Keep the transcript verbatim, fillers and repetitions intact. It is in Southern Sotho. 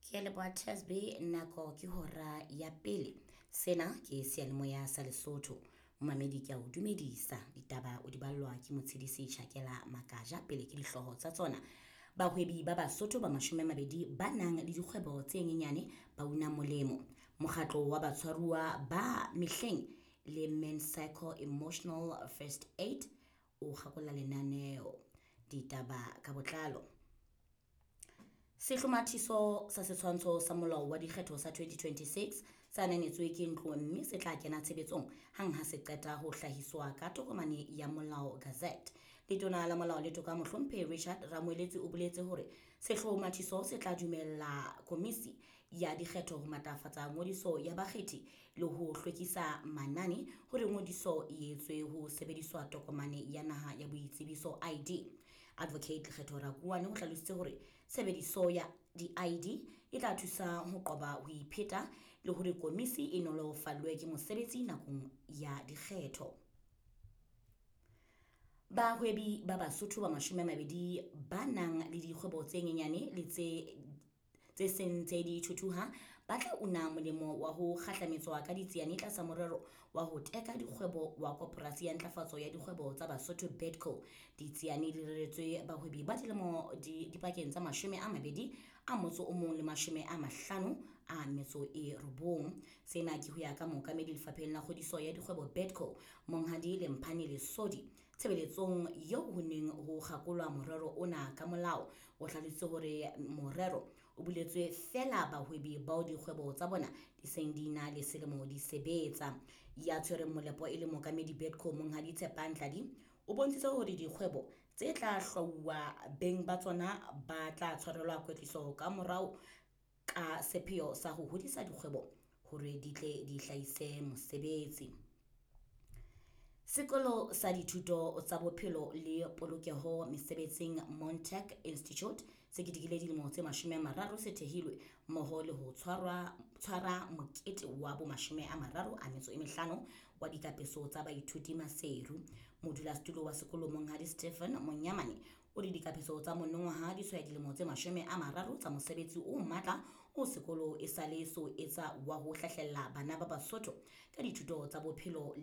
Ke a leboha T S B. Nako ke hora ya pele. Sena ke seyalemoya sa Lesotho. Momamedi, ke a o dumedisa. Ditaba o di ballwa ke Motshedisi Tjhakela Makaja. Pele ke dihlooho tsa tsona. Bahwebi ba Basotho ba mashome a mabedi ba nang le dikgwebo tse nyenyane ba una molemo. Mokgatlo wa batshwaruwa ba mehleng le Men Psycho Emotional First Aid o kgakola lenaneo. Ditaba ka botlalo. Sehlomathiso sa setshwantsho sa molao wa dikgetho sa twenty twenty-six se ananetswe ke ntlo mme se tla kena tshebetsong hang ha se qeta ho hlahiswa ka tokomane ya molao, Gazette. Letona la Molao le Toka, Mohlomphehi Richard Ramoeletsi, o boletse hore sehlomathiso se tla dumella komisi ya dikgetho ho matlafatsa ngodiso ya bakgethi le ho hlwekisa manane hore ngodiso e etswe ho sebediswa tokomane ya naha ya boitsebiso, I D. Advocate Lekgetho Rakuoane o hlalositse hore tshebediso ya di-I D e tla thusa ho qoba ho ipheta le hore komisi e nolofallwe ke mosebetsi nakong ya dikgetho. Bahwebi ba Basotho ba mashome a mabedi ba nang le dikgwebo tse nyenyane le tse tse seng ntse di thuthuha ba tla una molemo wa ho kgahlametswa ka ditsiane tlasa morero wa ho teka dikgwebo wa Koporasi ya Ntlafatso ya Dikgwebo tsa Basotho, BIDCO. Ditsiane di reretswe bahwebi ba dilemo di dipakeng tsa mashome a mabedi a motso o mong le mashome a mahlano a metso e robong. Sena ke ho ya ka mookamedi lefapheng la kgodiso ya dikgwebo BIDCO, Monghadi Lemphane Lesodi, tshebeletsong eo ho neng ho kgakolwa morero ona ka molao. O hlalositse hore morero o buletswe feela bahwebi bao dikgwebo tsa bona di seng di na le selemo di sebetsa. Ya tshwereng molepo e le mookamedi BIDCO, Monghadi Tshepang Tladi, o bontshitse hore dikgwebo tse tla hlwauwa beng ba tsona ba tla tshwarelwa kwetliso ka morao ka sepheo sa ho hodisa dikgwebo hore di tle di hlahise mosebetsi. Sekolo sa Dithuto tsa Bophelo le Polokeho Mesebetsing, Montec Institute, se ketekile dilemo tse mashome a mararo se thehilwe mmoho le ho tshwarwa tshwara mokete wa bo mashome a mararo a metso e mehlano wa dikapeso tsa baithuti Maseru. Modulasetulo wa sekolo, Monghadi Stephen Monyamane, o re dikapeso tsa monongwaha di tshwaya dilemo tse mashome a mararo tsa mosebetsi o matla o sekolo e sale so etsa wa ho hlahlella bana ba Basotho ka dithuto tsa bophelo.